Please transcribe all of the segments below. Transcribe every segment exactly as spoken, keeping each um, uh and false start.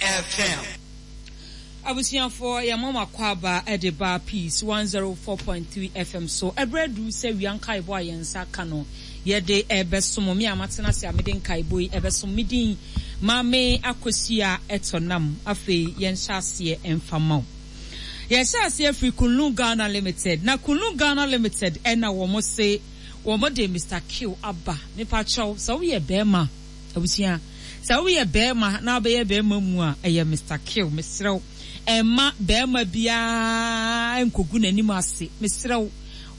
F M. Abusuafoɔ, yɛma mo akwaaba de ba Peace one zero four point three F M so. Ɛberɛ aduru sɛ wia nkaebɔ a yɛn nsa ka no yɛde ɛbɛsom. Me a matena ase a mede nkaebɔ yi ɛbɛsom, me din Maame Akosua Ɛtɔnam. Afei yɛnhyɛ aseɛ ɛmfa ma wo. Yɛhyɛ aseɛ firi Kunlun Ghana Limited. Na Kunlun Ghana Limited ɛna wɔn se wɔn de Mister Q aba. Mepa kyɛw, sɛ woyɛ bɛrima, abusua, sɛ woyɛ bɛrima na wobɛyɛ bɛrima mu a, ɛyɛ Mister Q. Mesrɛ wo, ɛmma bɛrima biara nkogu n'anim ase. Mesrɛ wo,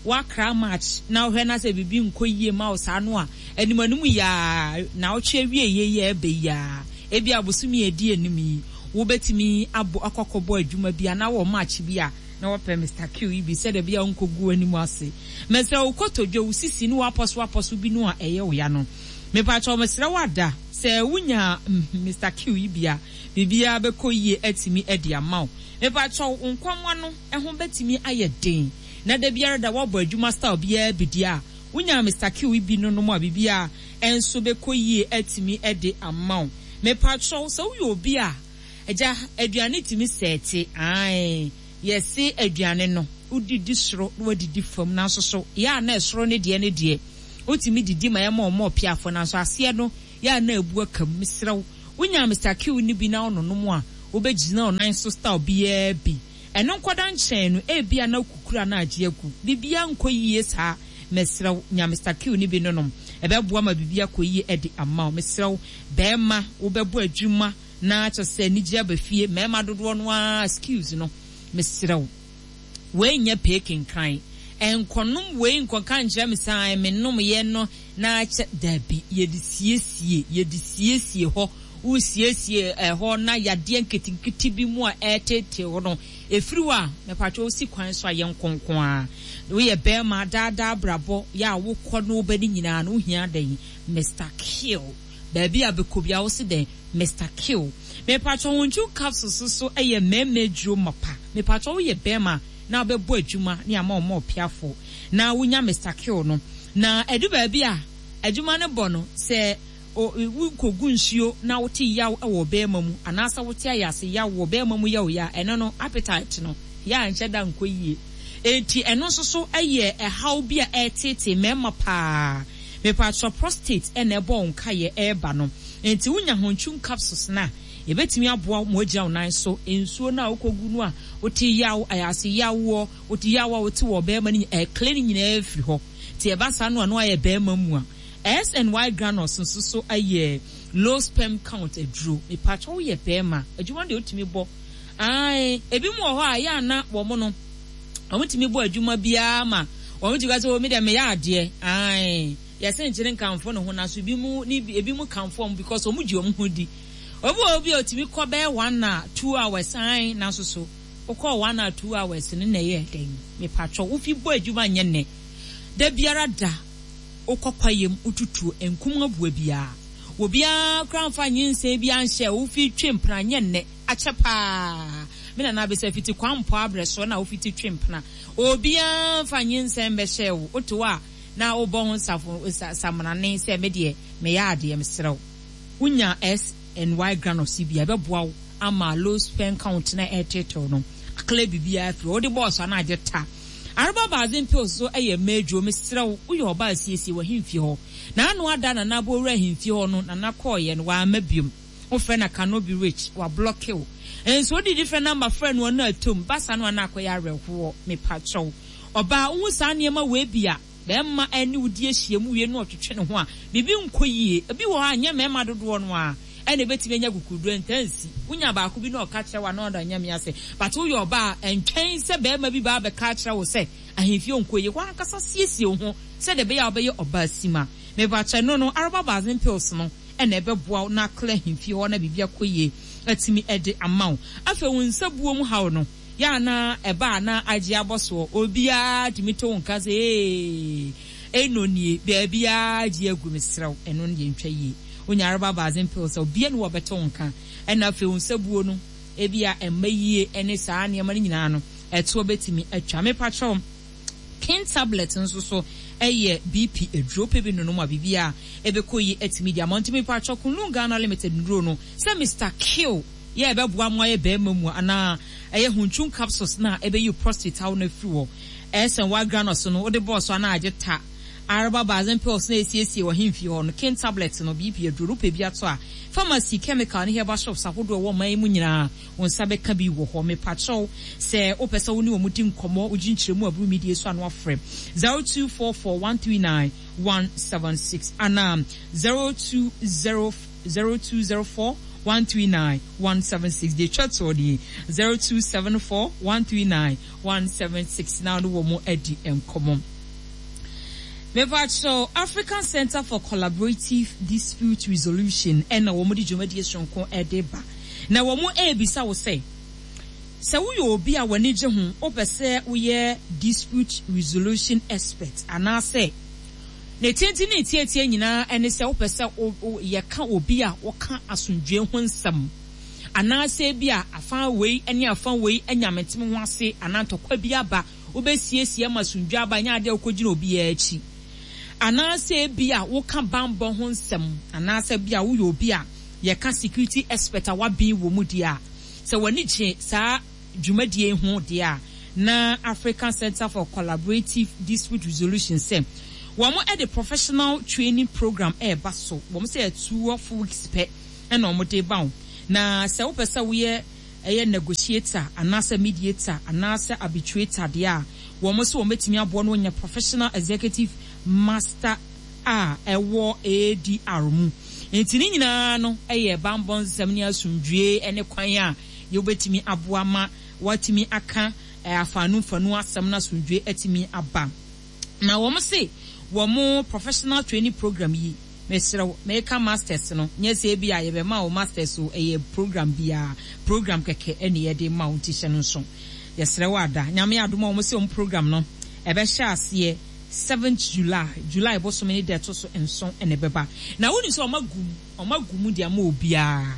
wakra match na wohwɛ na sɛ biribi nkɔ yie ma wo saa no a, anim anim yaa na wotwe awie yie yɛ ɛbɛ yaa. Ebi abosomi edi anim yi, wobɛtumi abɔ akɔkɔbɔ adwuma bi anaa wɔ match bi a na wɔpɛ Mister Q yi bi sɛdeɛ bia nkɔgu anim ase. Mesrɛ wo, kotodwe wo sisi ne wapɔso apɔso bi no a ɛyɛ wo ya no. Mepakyɛw, mesrɛ wo ada sɛ wonya Mister Q yi bi a, biribiara bɛkɔ yie atumi adi ama wo. Mepakyɛw, wo nkɔmmɔ no ɛho bɛtumi ayɛ den. Na da biara da wɔbɔ adwuma style biara bi di a, wonya Mister Q yi bi no nom a, biribiara ɛnso bɛkɔ yie atumi de ama wo. Mepakyɛw, sɛ woyɛ obi a, agya, aduane tumi sɛɛte, ae, yɛse aduane no, wodidi soro na wadidi fam, nanso so, yɛ a na ɛsoro ne deɛ ne deɛ, wotumi didi ma yɛma ɔmo ɔpiafo, nanso aseɛ no, yɛ a na ebu aka mu. Mesrɛ wo, wonya Mister Q ni bi na ɔnonom a, wobɛgyina ɔnan so style biara bi. Ɛno nkɔda nkyɛn no, ebia na kukura na agye agu. Biribiara nkɔ yie saa. Mesrɛ wo, nya Mister Q ni bi nonom. Ɛbɛboa ma biribi akɔ yie ɛde ama wo. Mesrɛ wo, bɛrima, wobɛbɔ adwuma na kyerɛ sɛ anigye aba fie. Mmarima dodoɔ no ara skills no, mesrɛ wo, wei nyɛ pee kenkran. Ɛnkɔnom wei nkɔka nkyerɛ me sɛ, menom yɛ no na kyɛ dabi, yɛde siesie, yɛde siesie hɔ. Wosiesie ɛhɔ na yadeɛ nketenkete bi mu a ɛtetee hɔ no, ɛfiri hɔ a, mepatwa wo si kwan so a yɛ nkonko a. Woyɛ bɛrima daadaa brabɔ, yɛ a wokɔ no wobɛ ne nyinaa no, wohia dɛn? Mister Q. Baabi a bɛkɔ bi a wo se dɛn? Mister Q. Mepatwa wo ntwu capsules so ɛyɛ mmarima aduro mapa. Mepatwa woyɛ bɛrima na wobɛbɔ adwuma ne ama ɔmo ɔpiafo. Na wonya Mister Q no. Na ɛdu baabi a adwuma no bɔ no sɛ wokɔgu nsuo na wote yaw wɔ bɛrima mu anaasɛ wote ayase yaw wɔ bɛrima mu yaw ya, ɛno no appetite no yɛ a nhyɛ da nkɔ yie. Enti ɛno nso so ɛyɛ ɛhaw bi a ɛtetee mmarima paa. Mepatwa prostate ɛna ɛbɔ wo nkaeɛ ɛreba no. Enti wonya hontwum capsules na ebetumi aboa mo agyina wo nan so. Nsuo no a wokɔgu no a wote yaw, ayase yaw wɔ, wote yaw a wote wɔ bɛrima no ɛkle no nyinaa afiri hɔ. Nti ɛba saa no a no ayɛ bɛrima mu a, S N Y granules nso so ayɛ low sperm count aduro. Mepatwa woyɛ bɛrima, adwuma deɛ wotumi bɔ. Ae, ebi mu wɔ hɔ a yɛ ana wɔn no, wɔn tumi bɔ adwuma biara ma wɔn tumi ka sɛ, "O, me deɛ meyɛ adeɛ." Ae, yɛsɛ nkyene nkamfo ne ho na so ebi mu ne ebi mu kamfo wɔn because wɔn gye wɔn ho di. Obi wɔ obi a otumi kɔ bɛyɛ one hour, two hours, ae, na nso so wokɔ one hour, two hours ne na ɛyɛ dɛn? Mepatwa wofi bɔ adwuma nyɛ nnɛ. Da biara da wokɔ kwayam wotutu nkum aboa biara. Obiara kora mfa nyinsɛn bi anhyɛ wofi twe mpena nyɛ nnɛ akyɛ paa. Me nana abɛsɛ fiti kwan mpo abrɛ so na wofiti twe mpena. Obiara mfa nyinsɛn bɛhyɛ wo. Wote hɔ a na wobɔ ho safo samrane sɛ me deɛ meyɛ adeɛ, mesrɛ wo. Wonya S N Y granules bi a ɛbɛboa wo ama low sperm count na ɛtetew no. Akla biribiara firi. Wode bɔɔso ana agye ta. Araba baazin pills so ɛyɛ mmadwo, mesrɛ wo, woyɛ ɔbaa siesie wɔ ahemfie hɔ. Na ano ada nana abɔwura ahemfie hɔ no, nana kɔɔyɛ no, wamma biom. Wofrɛ na cannot be rich, wablɔke wo. Nso wode different number frɛ no ɔno atom, basa no ana akɔyɛ awerɛhoɔ, mepakyɛw. Ɔbaa, wohu saa nneɛma wei bi a, bɛrima ɛne wo di ahyia mu wie no ɔtwetwe ne ho a, biribi nkɔ yie. Ebi wɔ hɔ a, nyɛ mmarima dodoɔ no a, ɛna ebetumi anya kukuduro ntansi. Wonya baako bi na ɔka kyerɛ wo a, na ɔda nyame ase. But woyɛ ɔbaa, ɛntwɛn sɛ bɛrima bi ba abɛka akyerɛ wo sɛ, ahemfie nkɔ yie. Wankasa siesie wo ho sɛdeɛ ɛbɛyɛ a wobɛyɛ ɔbaa sima. Mepakyɛ no no, araba baazin pills no, ɛna ɛbɛboa wo na akla ahemfie hɔ na biribi akɔ yie atumi ɛde ama wo. Afei wo nsa buo mu haw no, yɛ ana ɛba ana agye abɔ soɔ, obiara tumi to wo nka sɛ, ee, ɛno nie, baabiara agye agu, mesrɛ wo, ɛno no deɛ ntwa yie. Wonya araba baazin pills a, obiara ne wɔbɛto wo nka. Ɛna afei wo nsa buo no, ebia ɛmma yie ɛne saa nneɛma no nyinaa no, ɛtoɔ bɛtumi atwa. Mepakyɛw, King tablet nso so ɛyɛ B P aduro pɛ bi nonom a biribiara ɛbɛkɔ yie atumi de ama. Nti mepakyɛw, Kunlun Ghana Limited nnuro no, sɛ Mister Q Yɛ ɛbɛboa mo ayɛ bɛrima mu anaa ɛyɛ huntun capsules na ɛbɛyi prostate haw no afiri hɔ. Ɛsɛn wa granos no wode bɔɔ so anaa agye ta. Araba bazen pills na esiesie wɔ hemfie hɔ no, king tablet no, B P aduro no, wopɛ bi ato a, pharmacy, chemical ne herbal shops ahodoɔ ɛwɔ ɔman yi mu nyinaa, wo nsa bɛka bi wɔ hɔ. Mepakyɛw, sɛ wopɛ sɛ wo ne wɔn di nkɔmmɔ, wogye nkyerɛmu aburu media so ano afrɛ zero two four four one three nine one seven six anaa zero two zero zero two zero four one three nine one seven six. Deɛ etwa toɔ nie, zero two seven four one three nine one seven six na wo ne wɔn adi nkɔmmɔ. Mepakyɛw, African Centre for Collaborative Dispute Resolution ɛna wɔn de dwumadie soronko ɛde ba. Na wɔn ɛrebisa wo sɛ, sɛ woyɛ obi a w'ani gye ho, wopɛ sɛ woyɛ dispute resolution expert anaasɛ ne tenten ne tietie nyinaa ɛne sɛ wopɛ sɛ yɛka obi a wɔka asomdwoe ho nsɛm anaasɛ bi a afa wei ne afa wei anya mentem ho ase anaa ntɔkwa bi aba, wobɛsiesie ama asomdwoe aba, nyɛ adeɛ a wokɔgyina obiara akyi, anaasɛ bi a woka bambɔ ho nsɛm anaasɛ bi a woyɛ obi a yɛka security expert a wabɛn wɔ mu deɛ a, sɛ w'ani gye saa dwumadie ho deɛ a, na African Center for Collaborative Dispute Resolution sɛ wɔn de professional training program ɛreba so. Wɔn sɛ twelve weeks pɛ ɛna wɔn de ba wo. Na sɛ wopɛ sɛ woyɛ ɛyɛ negotiator anaasɛ mediator anaasɛ arbitrator deɛ a, wɔn nso wɔn bɛtumi aboa no wɔnya professional executive master a ɛwɔ A D R mu. Nti ne nyinaa no ɛyɛ bambɔ nsɛm ne asomdwie ne kwan a yɛbɛtumi aboa ma wɔatumi aka afaanu mfanu asɛm na asomdwie atumi aba. Na wɔn se wɔn professional training program yi, mesrɛ meka masters no, nyɛ sɛ ebi a yɛbɛma wo masters o, ɛyɛ program biara, program kɛkɛ ɛne yɛde ma wo, nti hyɛ no nso. Yɛsrɛ wo ada. Nyame adom a wɔn se wɔn program no ɛbɛhyɛ aseɛ seventh July, July bosome ne da ɛto so nson ɛna ɛbɛba. Na wonim sɛ wɔn agu mu, wɔn agu mu de ama obiara.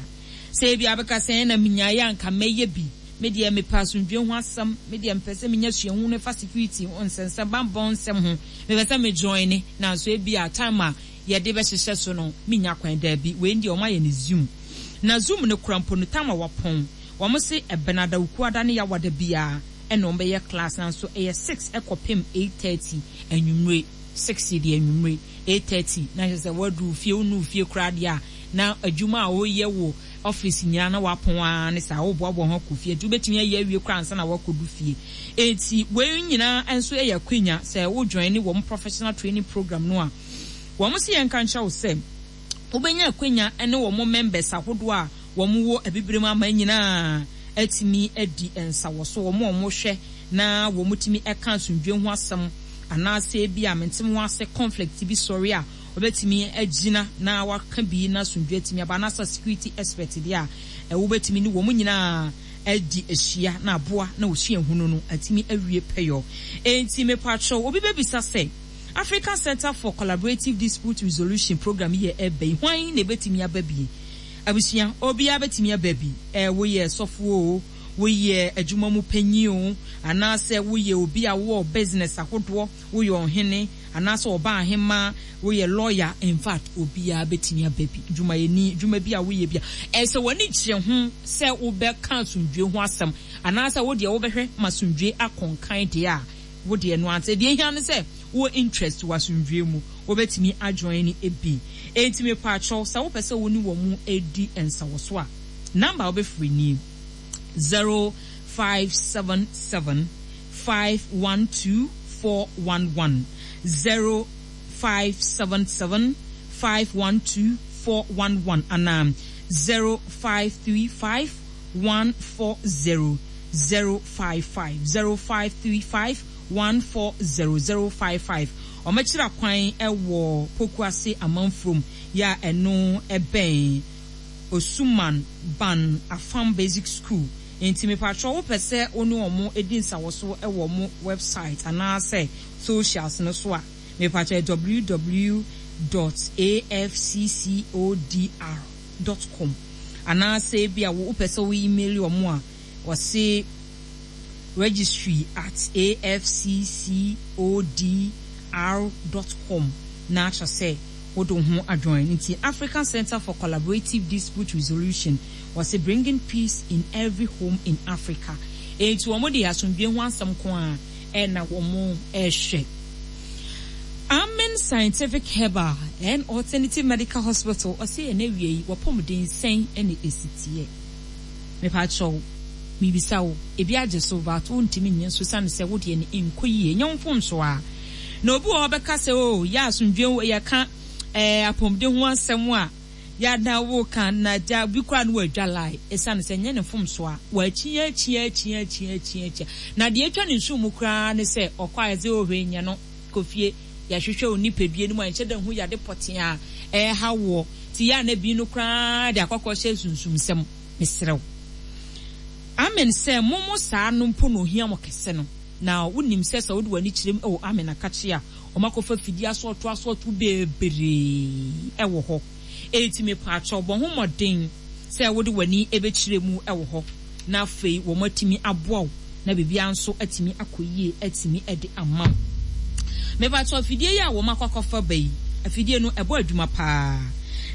Sɛ ebi abɛka sɛ ɛna minyaeɛ anka mɛyɛ bi, me deɛ mepɛ asomdwoe ho asɛm, me deɛ mepɛ sɛ menya suahu no fa security ho nsɛnsɛm, bambɔ nsɛm ho, mepɛ sɛ me join ne, nanso ebi a time a yɛde bɛhyehyɛ so no menya kwan. Daabi, wei deɛ wɔn ayɛ ne Zoom. Na Zoom no kura mpo no time a wapɔn, wɔn se ɛbɛnada, Wukuada ne Yawada biara ɛna wɔn bɛyɛ class, nanso ɛyɛ six ɛkɔpem eight thirty anwummere. Six deɛ anwummere, eight thirty na kyerɛ sɛ wɔaduru fie, wonu fie koraa deɛ a, na adwuma a wɔyɛ wɔ office nyinaa na wapɔn ara ne saa, wɔboaboa ho akɔ fie, nti wobɛtumi ayɛ awie koraa ansa na wakɔdu fie. Enti wei nyinaa nso yɛ akwanya sɛ wo join ne wɔn professional training program no a, wɔn si yɛn ka nkyerɛ wo sɛ wobɛnya akwanya ne wɔn members ahodoɔ a wɔn wɔ abibirem ama nyinaa atumi adi nsawɔso, wɔn a wɔhwɛ na wɔn tumi ka asomdwoe ho asɛm anaasɛ bi a mentem ho ase conflict bi sɔre a wobɛtumi agyina na waka bi na asomdwoe atumi aba, anaasɛ security expert deɛ a wobɛtumi ne wɔn nyinaa adi ahyia na aboa na osua hunu no atumi awie pɛyɔ. Enti mepakyɛw, obi bɛbisa sɛ African Center for Collaborative Dispute Resolution program yi yɛ ɛbɛ yi, hwan na ebetumi aba bi? Abusua, obiara betumi aba bi. Ɛ, woyɛ sɔfo o, woyɛ adwuma mu panyin o, anaasɛ woyɛ obi a wowɔ business ahodoɔ, woyɛ ɔhene, anaasɛ ɔbaa ahemmaa, woyɛ lawyer, in fact, obiara betumi aba bi. Dwumayɛni, dwuma bi a woyɛ bi a, ɛsɛ w'ani gye ho sɛ wobɛka asomdwoe ho asɛm, anaasɛ wo deɛ wobɛhwɛ ma asomdwoe akɔnkan deɛ a, wo deɛ no ante. Deɛ ehia ne sɛ wo interest wɔ asomdwoe mu, wobɛtumi ajoin ne ebi. Enti mepakyɛw, sɛ wopɛ sɛ wo ne wɔn mu edi nsawɔso a, number a wobɛfrɛ nie: zero five seven seven five one two four one one, zero five seven seven five one two four one one anaa zero five three five one four zero zero five five, zero five three five one four zero zero five five. Ɔmɛkyerɛ kwan ɛwɔ Pokuase Amanfurom yɛ a ɛno ɛbɛn Osuman Ban Afam Basic School. Nti mepatwɛ, wopɛ sɛ wo ne ɔmo edi nsawɔso ɛwɔ ɔmo website anaasɛ socials no so a, mepatwɛ w w dot afccodr dot com, anaasɛ ebi a wopɛ sɛ wo email ɔmo a, wɔse registry at afccodr dot com na akyerɛ sɛ wode wo ho adjoin. Nti African Center for Collaborative Dispute Resolution, Wɔse bringing peace in every home in Africa. Enti wɔn de asomdwoe ho asɛm ko a ɛna wɔn ɛrehwɛ. Amen Scientific Herbal and Alternative Medical Hospital ɔse ɛnɛ wie yi wɔpɔmuden sɛn ɛna esi teɛ. Mepakyɛw, mibisa wo, ebi agye so but wontumi nyɛ nso sane sɛ wodeɛ no nkɔ yie, nyɛ wo mfomso a. Na obi wɔ hɔ bɛka sɛ o yɛ asomdwoe yɛka ɛɛ apɔmuden ho asɛm a yɛada wo ka na gya bi koraa no wɔadwa lie ɛsiane sɛ nyɛ ne mfomso a wɔakyi akyi akyi akyi akyi akyi na deɛ atwa ne nsu mu koraa ne sɛ ɔkɔ a yɛsɛ ohwɛ nyɛ no kɔ fie yɛahwehwɛ wo nipadua no mu a nhyɛ da hu yade pɔtee a ɛha woɔ ti yɛ a na bi no koraa de akɔkɔ hyɛ sunsumsɛm. Mesrɛ wo, Amen sɛ momo saa no mpo na ohia mo kɛse no na wonim sɛ sɛ wode w'ani kyerɛ mu ɛwɔ Amen akakye a ɔmakɔfa fidie asɔɔto asɔɔto bebree ɛwɔ hɔ. Enti mepaakyɛw, bɔ ho mmɔden sɛ wode w'ani ɛbɛkyerɛ mu ɛwɔ hɔ na afei wɔn atumi aboa wo na biribiara nso atumi akɔ yie atumi de ama wo. Mepaakyɛw, afidie yi a wɔn akɔ akɔfa ba yi, afidie no ɛbɔ adwuma paa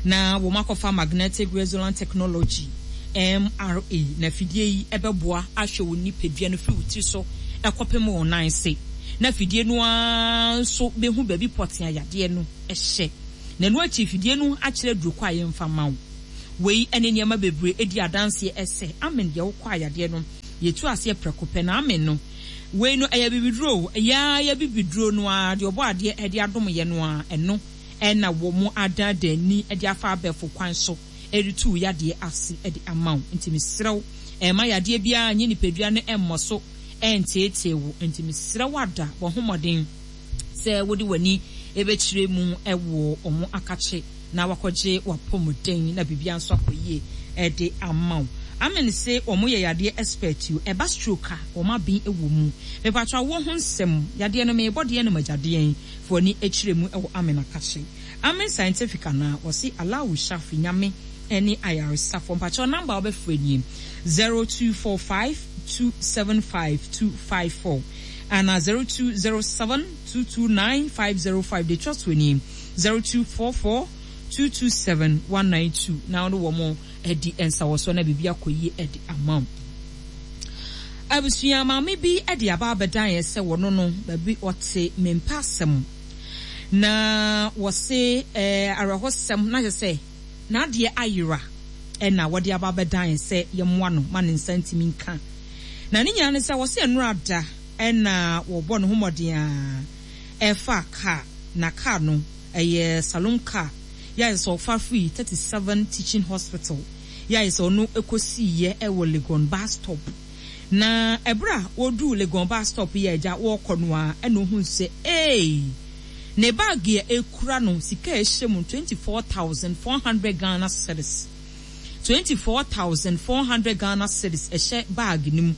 na wɔn akɔfa magnetic resonance technology M R A na afidie yi ɛbɛboa ahwɛ wo nipadua no firi wo tiri so ɛkɔpem wo nan ase na afidie no ara nso bɛhu baabi pɔtee a yadeɛ no ɛhyɛ na ɛno akyi afidie no akyerɛ duro kɔ a yɛmfa ma wo. Wei ɛne nneɛma bebree edi adanseɛ ɛsɛ amen deɛ wokɔ a yadeɛ no yɛtu aseɛ prɛko pɛ na amen no wei no ɛyɛ bibiduro yaa yɛ bibiduro no a deɛ ɔbɔ adeɛ ɛde adom yɛ no a ɛno ɛna wɔ mo adadani ɛde afa abɛfo kwan so ɛretu yadeɛ ase ɛde ama wo. Nti mesrɛ wo, ɛma yadeɛ biara nye nipadua no ɛmmɔ so ɛnteetee wo. Nti mesrɛ wo ada bɔ ho mmɔden sɛ wode w'ani ɛbɛkyerɛ mu ɛwɔ ɔmo akakye na wakɔgye wapɔmuden na biribiara nso akɔ yie ɛde ama wo. Amen se ɔmo yɛ yadeɛ expert o, ɛba stroke a ɔmo aben ɛwɔ mu. Mepatwa wo ho nsɛm yadeɛ no meebɔ deɛ no magyadeɛ fo ani akyerɛ mu ɛwɔ Amen akakye. Amen Scientific ana wɔse Allahu Shafi Nyame ɛne ayaresafo. Mpakyɛw number a wobɛfrɛ nie zero two four five two seven five two five four ana zero two zero seven two two nine five zero five. De twa so nie zero two four four two two seven one nine two. Na wɔn wɔn ɛdi nsawɔsɔ na biribi akɔ yie ɛde ama wo. Abusua maame bi ɛde aba abɛdan yɛ sɛ wɔn no baabi ɔte mmempa asɛm na wɔse ɛɛ awerɛhosɛm na kyerɛ sɛ n'adeɛ ayera ɛna wɔde aba abɛdan yɛ sɛ yɛmmoa no ma ne nsa ntumi nka. Na ne nyinaa ne sɛ wɔse nnora da ɛna wɔbɔ ne ho mmɔden a ɛfa kaa na kaa no ɛyɛ saloon car yɛ sɛ ɔfa firi thirty seven Teaching Hospital yɛ sɛ ɔno ɛkɔsiiɛ ɛwɔ Legon bus stop. Na ɛberɛ a wɔduu Legon bus stop yɛ agya wɔrekɔ no a ɛna ohun sɛ ee ne bag a ekura no sika a ɛhyɛ mu twenty four thousand four hundred Ghana cedis, twenty four thousand four hundred Ghana cedis ɛhyɛ bag no mu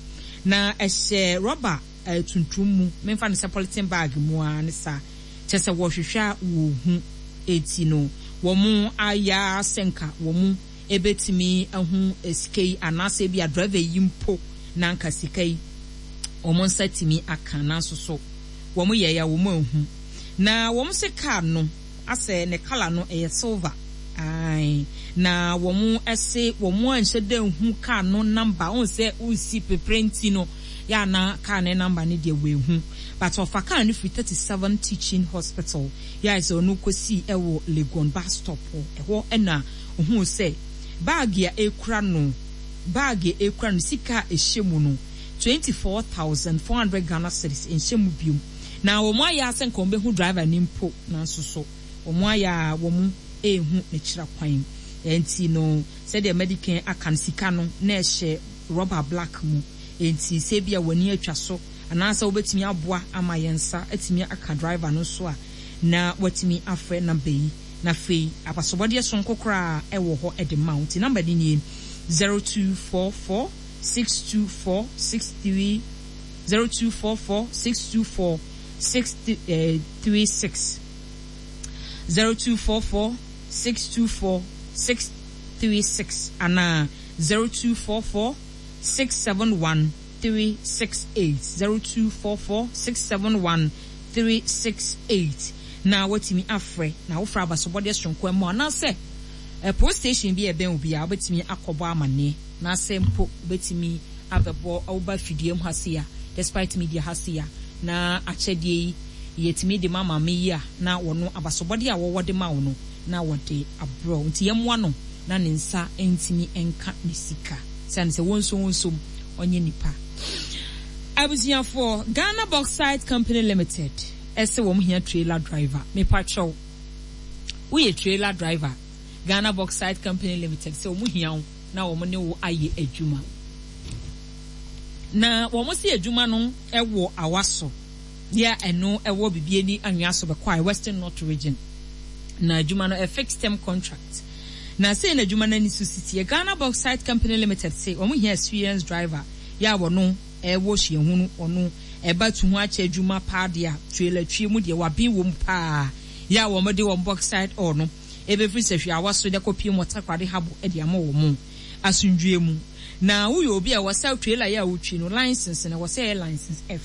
na ɛhyɛ rɔba tuntum mu memfa no sɛ polythene bag mu a ne saa kyɛ sɛ wɔhwehwɛ a wɔhu eti no wɔn ayɛ asɛnka wɔn ebetumi ahu sika yi anaasɛ bi a driver yi mpo na nka sika yi wɔn nsa tumi aka nanso so wɔn yɛ ya wɔn ahu na wɔn se car no asɛ ne colour no ɛyɛ silver ae na wɔn ɛse wɔn anhyɛ dɛ nhu car no number wɔn sɛ osi pepere nti no ya na car ne number ne deɛ wɔehu but ɔfa car no firi thirty seven Teaching Hospital ya sɛ ɔno kɔsi ɛwɔ Legon bus stop ɛhɔ ɛna ohun sɛ bag a ekura no bag a ekura no sika a ɛhyɛ mu no twenty four thousand four hundred Ghana cedis nhyɛ mu biom na wɔn ayɛ asɛ nka wɔn bɛhu driver ne mpo nanso so wɔn ayɛ a wɔn ehu n'akyira kwan nti no sɛdeɛ medican aka no sika no na ɛhyɛ rubber black mu nti sɛ bi a w'ani atwa so anaasɛ wobɛtumi aboa ama yɛn nsa atumi aka driver no so a na watumi afrɛ number yi na afei abasobɔdeɛ sonko koraa ɛwɔ hɔ ɛde ma wo. Nti number no nie zero two four four six two four six three zero two four four six two four six three six zero two four four six two four six three six ana zero two four four six seven one three six eight zero two four four six seven one three six eight. Na watumi afrɛ na wofrɛ abasobɔdeɛ sonko mu anaasɛ Police station bi a ɛbɛn wo biara, wobɛtumi akɔbɔ amanneɛ, na sɛ mpo wobɛtumi abɛbɔ woba fidua mu ha sei a, Despite Media ha sei a, na akyɛdeɛ yi yɛtumi de ma maame yi a, na wɔno abasobɔdeɛ a wɔwɔ de ma wo no, na wɔde abrɛ wo. Nti yɛmmoa no na ne nsa ntumi nka ne sika. Sane sɛ wɔnso wɔnsom, ɔnyɛ nipa. Abusuafoɔ, Ghana Bauxite Company Limited ɛsɛ wɔn hia trailer driver. Mepakyɛw, woyɛ trailer driver, Ghana Bauxite Company Limited sɛ wɔn hia wo na wɔn ne wo ayɛ adwuma. Na wɔn si adwuma no ɛwɔ Awaso, deɛ ɛno ɛwɔ Bibiani Anwea so bɛkɔ a Western North Region. Na adwuma no ɛ fixed term contract. Na sei na adwuma no ani so sisi. Ghana Bauxite Company Limited sɛ wɔn hia experienced driver yɛ a wɔno ɛwɔ suahunu, ɔno ɛba tu ho akyɛ adwuma paa deɛ a trailer twie mu deɛ waben wɔ mu paa, yɛ a wɔn de wɔn bauxite ore no ebɛfiri Sɛhwi Awaso de kɔpie mu Takoradi Harbour de ama wɔn asomdwie mu. Na woyɛ obi a wɔsɛ trailer yɛ a wotwi no license na wɔsɛ yɛ license F.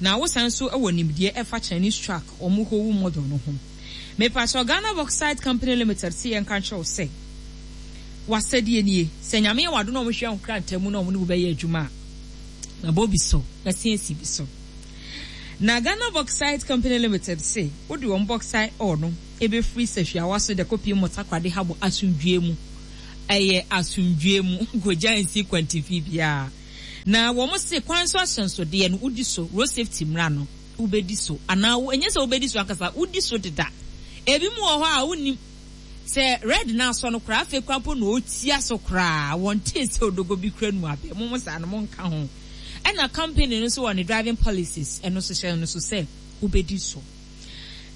Na wosan so wɔ nimdeɛ ɛfa Chinese truck wɔn Howo model no ho. Mepakyɛw, Ghana Bauxite Company Limited sɛ yɛnka nkyerɛ wo sɛ wasɛdeɛ nie: sɛ Nyame yɛ wado na ɔmo hwɛ wo nkrataa mu na ɔmo ne wo bɛyɛ adwuma a, na bɔ bi so na siesie bi so. Na Ghana Bauxite Company Limited se wode wɔn bauxite ore no ebɛfiri Sɛhwi Awaso de kɔpie mu Takoradi Harbour asomdwie mu, ɛyɛ asomdwie mu, nkogya nsi kwantifi biara. Na wɔn se kwan so ahyɛnsodeɛ no wodi so, road safety mmara no wobɛdi so, anaa ɛnyɛ sɛ wobɛdi so ankasa, wodi so deda. Ebi mu wɔ hɔ a wonim sɛ red na asɔ no koraa, afei koraa mpo na ɔtia so koraa, wɔn tee sɛ odogo bi kura nu abɛ mo mo saa no mo nka ho. Ɛna company no nso wɔ ne driving policies, ɛno nso hyɛ no so sɛ wobɛdi so.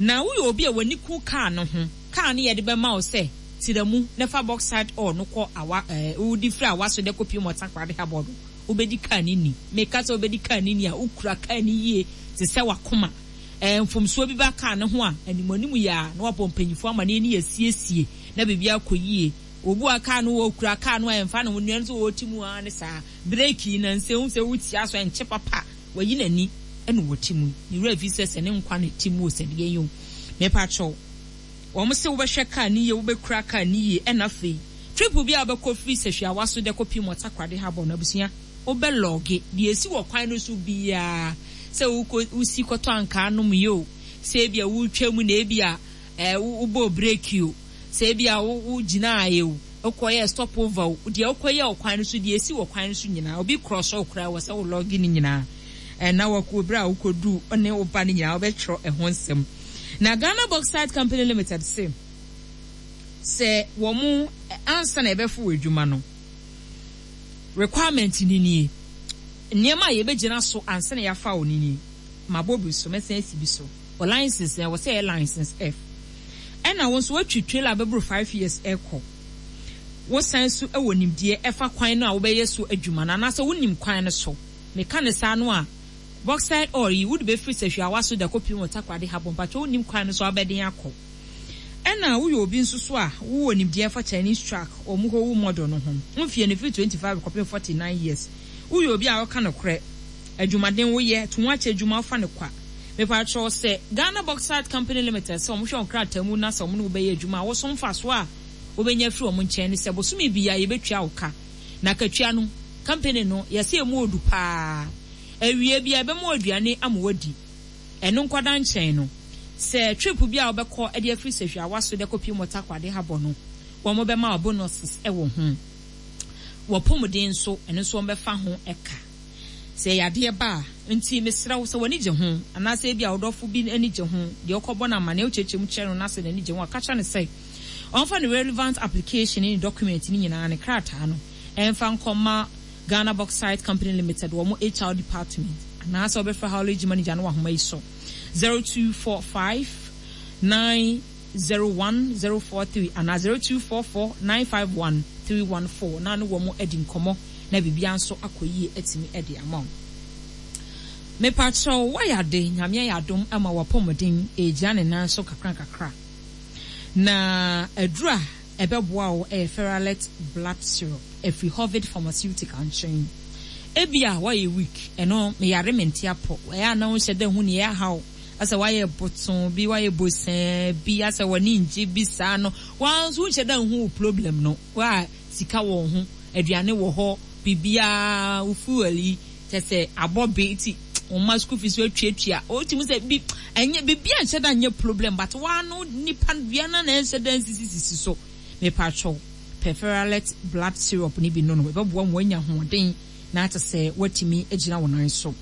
Na woyɛ obi a w'ani ku kaa no ho, kaa no yɛde bɛma wo sɛ tira mu na fa bauxite ore no kɔ awa ɛɛ wodi firi Awaso de kɔpie mu Ɔtakoradi Harbour no, wobɛdi kaa no ni. Meka sɛ wobɛdi kaa no ni a, wokura kaa no yie te sɛ wakoma. Ɛɛ mfomsoɔ bi ba kaa no ho a, animuanim yɛ a na wabɔ mpanyinfoɔ ama ne ani asiesie na biribi akɔ yie. Obu a kaa no wɔkura kaa no a ɛmfa ne ho, nnua no nso wɔte mu ara ne saa brake yi na nsɛm sɛ wotia so ɛnkyɛ papa, wayi n'ani ɛna wɔte mu ne wura fi sɛ sɛ ne nkwa ne te mu o, sɛ deɛ yɛ o. Mepakyɛw, wɔn sɛ wobɛhwɛ kaa ne yie, wobɛkura kaa ne yie. Ɛna afei trip bi a wobɛkɔ firi Sɛhwi Awaso de kɔpie mu Ɔtakoradi Harbour no, abusua, wobɛlog deɛ esi wɔ kwan no so biara, sɛ wokɔ wosi kɔtɔ ankaa nom yie o, sɛ ebi a wotwa mu na ebi a ɛɛ wobɔ brake o, sɛ ebi a wo wogyina ayɛ o, wokɔyɛ stop over o, deɛ wokɔyɛ wɔ kwan no so, deɛ esi wɔ kwan no so nyinaa, obi cross wo koraa, wɔ sɛ wo log ne nyinaa. Ɛna wɔkɔ bere a wokɔdu ne wo ba no nyinaa, wobɛtwerɛ ɛho nsɛm. Na Ghana Bauxite Company Limited se sɛ wɔn ansa na yɛbɛfo wɔ adwuma no, requirement ni nie, nneɛma a yɛbɛgyina so ansa na yɛafa wɔ ni nie. Mabɔ bi so, mɛsan asi bi so. Wɔ license na ɛwɔ sɛ ɛyɛ license F, ɛna wɔn nso wɔatwi trailer bɛboro five years ɛkɔ. Wosan so wɔ nimdeɛ ɛfa kwan no a wobɛyɛ so adwuma no, anaasɛ wonim kwan no so. Meka ne saa no a, bauxite ore yi wode bɛfiri Sɛhwi Awaso da kɔpie wɔ Takoradi Harbour, mpatwɛ, wonim kwan no so a wobɛden akɔ. Ɛna woyɛ obi nso so a wowɔ nimdeɛ fa Chinese truck wɔn Howo model no ho, mfie no firi twenty five kɔpem forty nine years. Woyɛ obi a wɔka nokorɛ, adwumaden, woyɛ to ho akyɛ adwuma, wofa no kwa. Mepakyɛw, sɛ Ghana Bauxite Company Limited sɛ wɔn hwɛ wɔn krataa mu na sɛ wɔn ne wo bɛyɛ adwuma a, wɔso mfasoɔ a wobɛnya firi wɔn nkyɛn ne sɛ bosome biara yɛbɛtua wo ka. Na katua no, company no yɛsɛ emu odu paa. Awie bi a ɛbɛma wo aduane ama wadi. Ɛno nkɔda nkyɛn no, sɛ trip bi a wobɛkɔ de afiri Sɛhwi Awaso de kɔpie mu Takoradi Harbour no, wɔn bɛma wo bonuses wɔ ho. Wɔpɔmuden nso, ɛno nso wɔn bɛfa ho ɛka sɛ yadeɛ ba a. Nti mesrɛ wo, sɛ w'ani gye ho anaasɛ ebi a ɔdɔfo bi ani gye ho deɛ, ɔkɔbɔ no amanneɛ, wokyerɛkyerɛ mu kyerɛ no na sɛ n'ani gye ho a, ka kyerɛ no sɛ ɔmfa ne relevant application ne ne document ne nyinaa, ne krataa no, ɛmfa nkɔma Ghana Bauxite Company Limited wɔn H R department, anaasɛ wɔbɛfrɛ haulage manager no wɔ ahoma yi so: zero two four five nine zero one zero four three anaa zero two four four nine five one three one four, na ne wɔn adi nkɔmmɔ na biribiara nso akɔ yie atumi de ama wo. Mepakyɛw, woayɛ ade, Nyame ayɛ adom ama wapɔmuden ɛgyina ne nan so kakra kakra. Na aduru a ɛbɛboa wo ɛyɛ Ferralet Blood Syrup ɛfiri Hovid Pharmaceutical nkyɛn. Ebi a woayɛ weak, ɛno meyare mente apɔ, ɛyɛ a na wonhyɛ da hu neɛ ɛhaw. Asɛ wayɛ botoo bi, wayɛ bosɛɛ bi, asɛ w'ani ngye bi saa no, woaa nso wonhyɛ da nhu wo problem no. Woa sika wɔ wo ho, aduane wɔ hɔ, biribiara, wo fuel yi, kyerɛ sɛ abɔ be nti wo mma school fees woatuatua. Wotumi hu sɛ bi, ɛnyɛ, biribiara nhyɛ da nyɛ problem but woaa no nipa dua no na ɛnhyɛ da nsisisisi so. Mepakyɛw, pɛ Ferralet blood syrup no bi nonom, ɛbɛboa ma woanya ahoɔden na kyerɛ sɛ woatumi agyina wo nan so.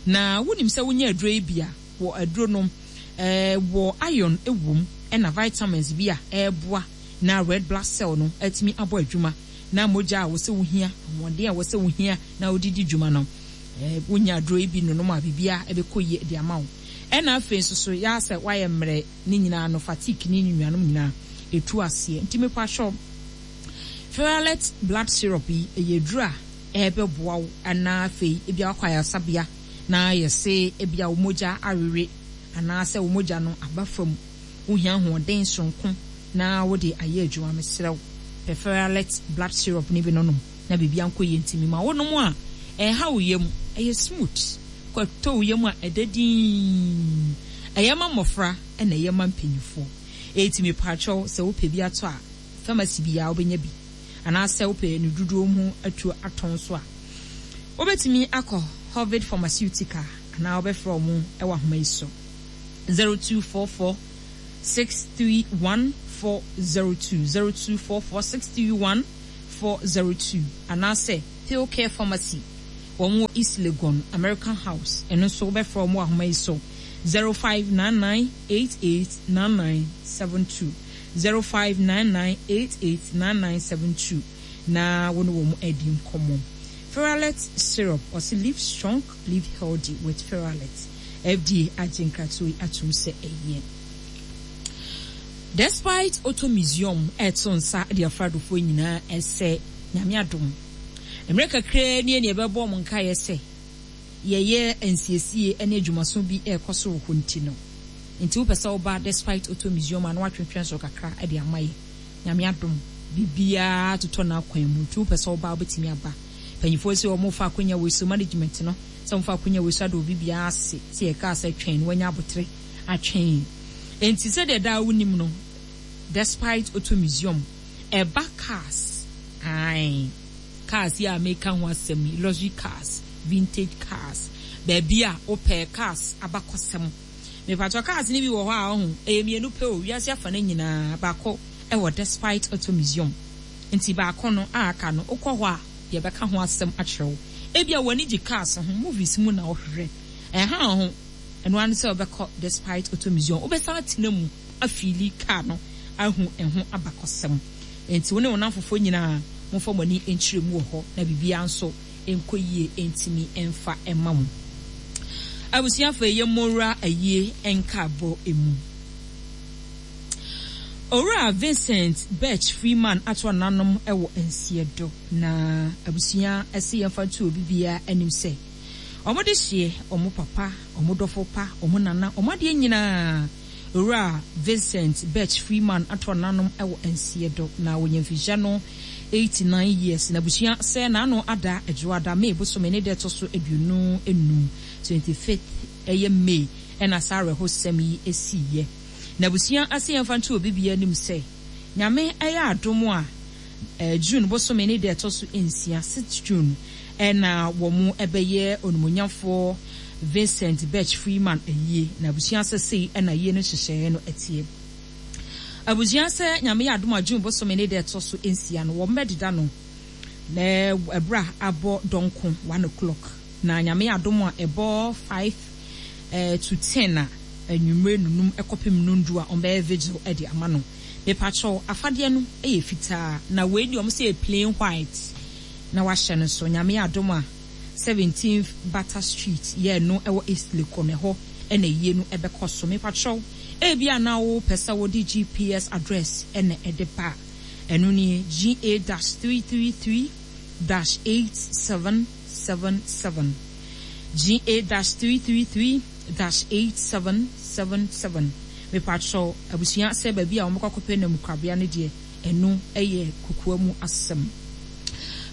Na wonim sɛ wonya aduro yi bi a, wɔ aduro nom, wɔ iron wom ɛna vitamins bi a ɛboa na red blood cell no atumi abɔ adwuma na mogya a wɔsɛ wohia, ahoɔden a wɔsɛ wohia na wode di dwuma no, wonya aduro yi bi nonom a biribiara ɛbɛkɔ yie de ama wo. Ɛna afei nso so yɛ sɛ woayɛ mmerɛ ne nyinaa no, fatigue ne ne nuanom nyinaa ɛtu aseɛ. Nti mepakyɛw, Ferralet blood syrup yi ɛyɛ aduro a ɛbɛboa wo anaa afei ebia wakɔ ayaresabea na yɛse ebia wo mogya awewe anaasɛ wo mogya no aba fam, wohia ahoɔden soronko na wode ayɛ adwuma, mesrɛ wo, pɛ Ferralet blood syrup no bi nonom na biribiara nkɔ yie. Nti mema wonom a ɛnha wo yam, ɛyɛ smooth, kɔtɔ wo yam a ɛda dinn, ɛyɛ ma mmɔfra ɛna ɛyɛ ma mpanyinfoɔ. Eti mepakyɛw, sɛ wopɛ bi atɔ a, pharmacy biara wobɛnya bi, anaasɛ wopɛ ne dodoɔ mu atu atɔn so a, wobɛtumi akɔ Hovid Pharmaceutical anaa wobɛfrɛ wɔn wɔ ahoma yi so, zero two four four six three one four zero two, zero two four four six three one four zero two, anaasɛ Care Pharmacy, wɔn wɔ East Legon, American House, ɛno nso wobɛfrɛ wɔn wɔ ahoma yi so, zero five nine nine eight eight nine nine seven two, zero five nine nine eight eight nine nine seven two, na wɔne wɔn adi nkɔmmɔ. Ferralet syrup, ɔse live strong, live healthy with Ferralet. F D A agye nkratoɔ yi atom sɛ ɛyɛ. Despite Auto Museum ɛto nsa de afradofoɔ nyinaa ɛsɛ Nyame adom, mmerɛ kakraa nie ne yɛbɛbɔ mo nkaeɛ sɛ yɛyɛ nsiesie ne adwumaso bi ɛrekɔ so wɔ hɔ. Nti no nti wopɛ sɛ woba Despite Auto Museum a, na woatwentwɛn so kakra de ama yɛ. Nyame adom, biribiara totɔ n'akwan mu, nti wopɛ sɛ woba, wobɛtumi aba. Mpanyinfoɔ sɛ wɔn fa akonnwa wei so, management no sɛ wɔn fa akonnwa wei so ada obi biara ase sɛ yɛkaa sɛ twɛn no, wanya abotere atwɛn. Nti sɛdeɛ daa wonim no, Despite Auto Museum ɛba cars, ae, cars yi a meka ho asɛm yi, luxury cars, vintage cars, baabi a wopɛ cars abakɔsɛm. Mepatɔ cars no bi wɔ hɔ a ɔho ɛyɛ mmienu pɛ o wiase afa no nyinaa, baako ɛwɔ Despite Auto Museum. Nti baako no a aka no, wokɔ hɔ a yɛbɛka ho asɛm akyerɛ wo. Ebia w'ani gye cars ho, movies mu na wohwehwɛ ɛha ho, ɛno ano sɛ wobɛkɔ Despite Auto Museum, wobɛsan atena mu afeeli car no, ahu ɛho abakɔsɛm. Nti wo ne wo namfofoɔ nyinaa momfa mo ani nkyerɛ mu wɔ hɔ na biribiara nso nkɔ yie ntumi mfa mma mo. Abusuafo, yɛ mmɔwura ayie nkaabɔ emu. Owura Vincent Birch Freeman ato ananom wɔ Nseɛdo, na abusua ɛsɛ yɛmfa nto obi biara anim sɛ ɔmo de hyeɛ ɔmo papa, ɔmo dɔfo pa, ɔmo nana, ɔmo adeɛ nyinaa, Owura Vincent Birch Freeman ato ananom wɔ Nseɛdo, na wɔnya mfinhyia no eighty-nine years. Na abusua sɛ n'ano ada Adwoada, May bosome ne deɛ ɛtɔ so aduonu enum, twenty-fifth ɛyɛ May, ɛna saa awerɛhosɛm yi esiiɛ. Na abusua ase yɛmfa nto obi biara anim sɛ Nyame ɛyɛ adom a, ɛɛ June bosome ne deɛ ɛtɔ so nsia, six June, ɛna wɔn ɛbɛyɛ onimonyamfoɔ Vincent Birch Freeman ayie. Na abusua sɛ sei ɛna yie no nhyehyɛeɛ no ɛteɛ. Abusua sɛ Nyame yɛ adom a, June bosome ne deɛ ɛtɔ so nsia no, wɔn bɛdeda no na ɛberɛ a abɔ dɔnko, one o'clock, na Nyame yɛ adom a, ɛbɔ five eh, to ten a anwummerɛ nunum ɛkɔpem nondu a, ɔmbɛyɛ vigil ɛde ama no. Mepakyɛw, afadeɛ no ɛyɛ fitaa, na wei deɛ ɔmo sɛ yɛ plain white na wahyɛ no so. Nyame yɛ adom a, seventeenth Butter Street yɛ no ɛwɔ East Legon, ɛhɔ ɛna yie no ɛbɛkɔ so. Mepakyɛw, ebi a na wopɛ sɛ wode G P S address ɛna ɛde ba, ɛno nie: G A dash three three three dash eight seven seven seven, G A dash three three three dash eight seven seven seven. Mepakyɛw, abusua sɛ baabi a wɔbɛkɔ akɔpɛ namukrabea no deɛ, ɛno ɛyɛ kukua mu asɛm.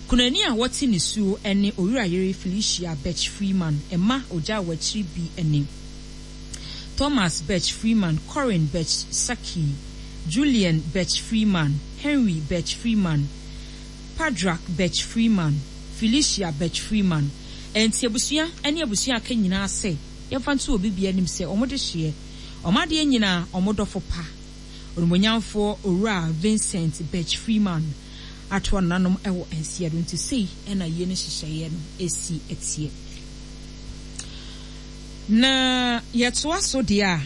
Kunani a wɔte ne suo ne Owura Yere Felicia Birch Freeman. Ɛma ogya wɔ akyiri bi ne Thomas Betch Freeman, Corin Betch Saki, Julian Betch Freeman, Henry Betch Freeman, Padrack Betch Freeman, Felicia Betch Freeman. Enti abusua ne abusua aka nyinaa sɛ yɛmfa nto obi bia anim sɛ ɔmo de hyeɛ ɔmo adeɛ nyinaa, ɔmo dɔfo pa, onimonyamfoɔ Owura Vincent Betch Freeman ato ananom ɛwɔ nsia do. Nti sei ɛna yie no hyehyɛeɛ no esi ɛteɛ. Na yɛtoa so deɛ a,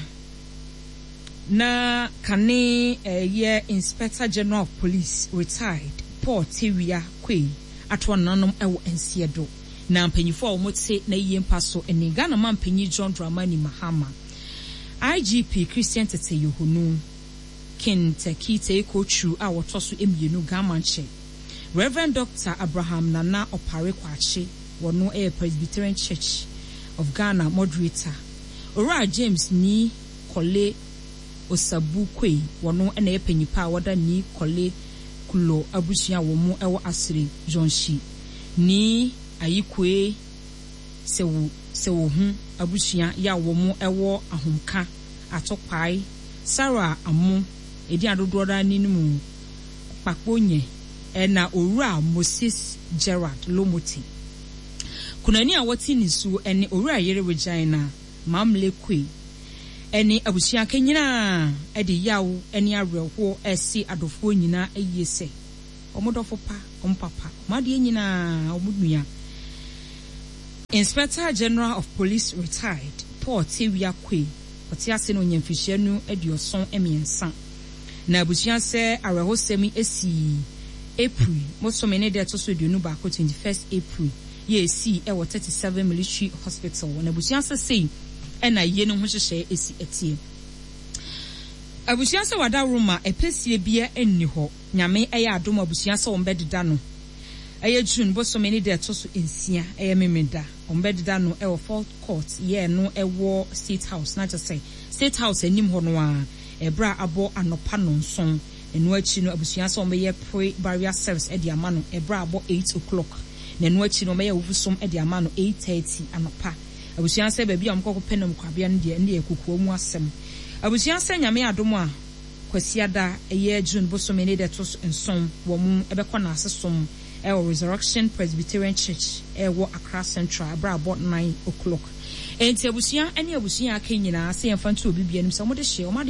na kane ɛyɛ Inspector General of Police, retired, Paul Tewia Kwei ato ananom ɛwɔ nsia do. Na mpanyinfoɔ a wɔte na yie mpa so ne Ghana man panyin John Dramani Mahama, I G P Christian Tetteh Yohuno, King Tackie Teiko Tsuru a wɔtɔ so mmienu Gamankyɛ, Reverend Doctor Abraham Nana Opare Kwakye, wɔno yɛ Presbyterian Church of Ghana moderator, Owura James Nii Korley Osabu Quaye, wɔno na yɛ panyipa a wɔda Nii Korley Kulo abusua a wɔn wɔ Asere Yonhyi, Nii Ayikoi Sewo Sewohu abusua yɛ a wɔn wɔ Ahomka Atokwae, Sarah Amo edin adodoɔ daa anim Kpakponye, ɛna Owura Moses Gerard Lomotey. Kunani a wɔte ne su ne Owura Yere Regina Mamle Kwe ɛne abusua ka nyinaa ɛde yaw ne awerɛhoɔ ɛsi adɔfoɔ nyinaa ayie sɛ ɔmo dɔfo pa, ɔmo papa, ɔmo adeɛ nyinaa, ɔmo nua, Inspector General of Police, retired, Paul Tewia Kwe, ɔte ase no onya mfihyia no aduɔson mmiɛnsa. Na abusua sɛ awerɛhosɛm yi esi April bosome ne deɛ ɛto so aduonu baako, twenty first April, yɛ esi ɛwɔ thirty seven Military Hospital. Na abusua sɛ sei ɛna yie no ho hyehyɛ esi ɛteɛ. Abusua sɛ wada roma ɛpɛsie bia nni hɔ. Nyame ɛyɛ adom, abusua sɛ wɔn bɛdeda no ɛyɛ June bosome ne deɛ ɛto so nsia, ɛyɛ Memeda. Wɔn bɛdeda no ɛwɔ Fourth Court yɛ no ɛwɔ State House, na kyerɛ sɛ State House anim hɔ no a, ɛberɛ a abɔ anɔpa nonson. Ɛno akyi no, abusua sɛ wɔn bɛyɛ pre burial service ɛde ama no ɛberɛ a abɔ eight o'clock. Na ɛno akyi no, wɔn bɛyɛ awufusom ɛde ama no eight thirty anɔpa. Abusua sɛ baabi a wɔn kɔkɔ pɛ nam kwabea no deɛ, ɛno deɛ kokoa mu asɛm. Abusua sɛ Nyame adom a, Kwasiada ɛyɛ June bosome ne deɛ ɛto so nson, wɔn ɛbɛkɔ n'ase som ɛwɔ Resurrection Presbyterian Church ɛwɔ Accra Central ɛberɛ abɔ nine o'clock. Enti abusua ne abusua aka nyinaa sɛ yɛmfa nto obi bia anim sɛ wɔde hyɛ wɔn ade.